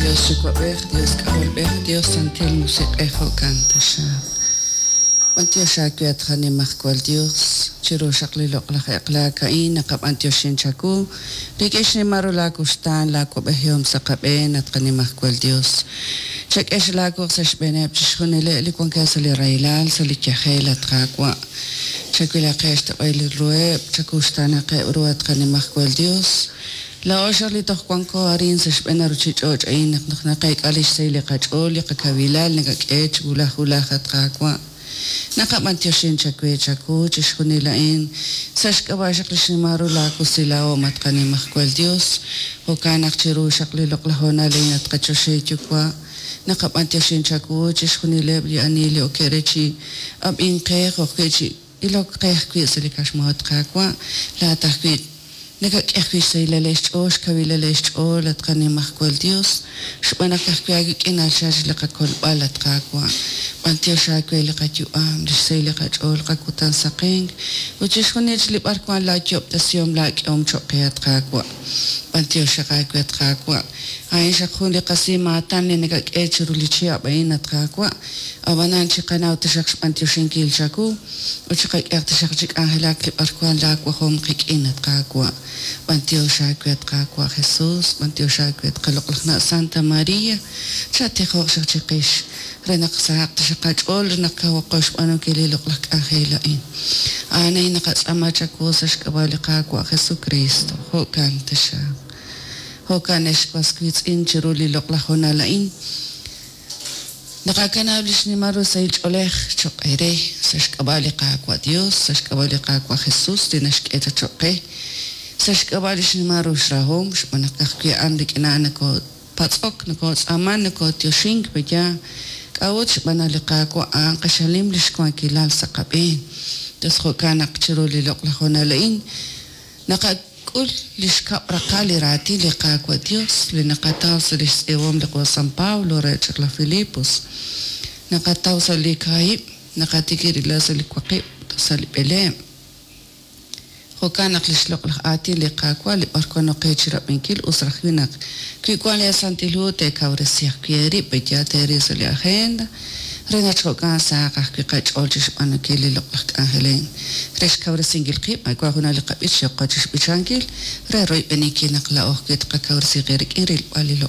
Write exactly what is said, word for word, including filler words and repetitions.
Dios Yuwa'b'ej, Dios K'ajolb'ej, Dios Santil Musiq'ej, jo'kan taxaq. B'antiox aawe at qanimajwal Dios, chiru xaq li loq'laj eq'laak a'in naqab'antioxin chawu rik'in xnimal ru laa wuxtaan, laa wab'ejihom sa' qab'een at qanimajwal Dios. Chak'e laa wuq' sa' xb'eeneb' chixjunileb' li wankeb' sa' li rahilal, sa' li yajel, at Qaawa'. Chawilaqeb' xtoq'il ruheb', chakuxtaanaqeb' ru at qanimajwal Dios. Laa'o xaq li toj wanko arin sa' xb'een ruchich'och' a'in naq naq naqeek'a lix sahil li qach'ool, li qakawilal nakak'e chi wulaj wulaj at Qaawa'. Naqab'antioxin chawe chawu chixjunil a'in sa' xk'ab'a' xaq li xnimal ru laa wusilahom at qanimajwal Dios. Jo'kan naq chiru xaq li loq'laj hoonal a'in at qachoxahil Yuwa', naqab'antioxin chawu chixjunileb' li ani li okeb' re chi ab'ink qe, jo'ajwi' chi ilok qe ajwi' sa' li kaxmohot Qaawa', laa'at ajwi' nakak'e ajwi' xsahilal xch'ool, xkawilal xch'ool at qanimajwal Dios, xb'aan naq ka'ajwi' aawik'in nachal li qakolb'al at Qaawa'. B'antiox aawe li qayu'am, li xsahil li qach'ool, qakutan saqenk, ut chixjunil li b'arwan laayob'tesihom laak'ehom cho'q qe at Qaawa'. B'antiox xaq aawe at Qaawa'. A'in xaq jun li qasimaatan li nakak'e chiru li chihab' a'in at Qaawa'. Ab'anan chiqanaw taxaq xb'antioxinkil chawu, ut chiqak'ehaq taxaq chi k'anjelak li b'arwan laawajom qik'in at Qaawa'. B'antiox aawe at Qaawa' Jesus, b'antiox aawe at qaloq'laj na' Santa Maria, chatijoq xaq chiqix re naq sahaq taxaq qach'ool re naq kawaqo xb'aanunkil li loq'laj k'anjel a'in. A'an a'in naqatz'aama chawu sa' xk'ab'a' li Qaawa' Jesucristo. Jo'kan taxaq. Jo'kan ex was wiitz'in chiru li loq'laj hoonal a'in. Naqakanab' li xnimal ru sahil ch'oolej cho'q eere sa' xk'ab'a' li Qaawa' Dios, sa' xk'ab'a' li Qaawa' Jesus li naxk'e chaq cho'q qe, sa' xk'ab'a' li xnimal ru xrahom, xb'aan naq ka'ajwi' a'an rik'in a'an nakoopatz'ok, nakootz'aaman, nakooyoxink peya. K'a'ut xb'aan naq li Qaawa' a'an q'axal nim li xwankilal sa' qab'een. Tos jo'kan naq chiru li loq'laj hoonal a'in naqak'ul li xkab' raqal li raatin li Qaawa' Dios li naqataw sa' li xtz'iib'ahom li Qo San Pablo re chaq laj Filipos. Naqataw sa' li kaahib', naqatikib' sa' li waqib' sa' li b'eleeb'. Jo'kan naq li xloq'laj aatin li Qaawa' li b'arwan oqe chi rab'inkil us raj wi naq wi wan li Santil Hu teekawresi ajwi' eerib' peya teeril sa' li agenda re naq jo'kan sahaq ajwi' qach'ool chi xb'aanunkil li loq'laj k'anjel a'in re xkawresinkil qib' wan junaq li qab'ich yoqo chi xb'ichankil re royb'eninkil naq laa'o ajwi' tqakawresi qib' rik'in rilb'al li loq'laj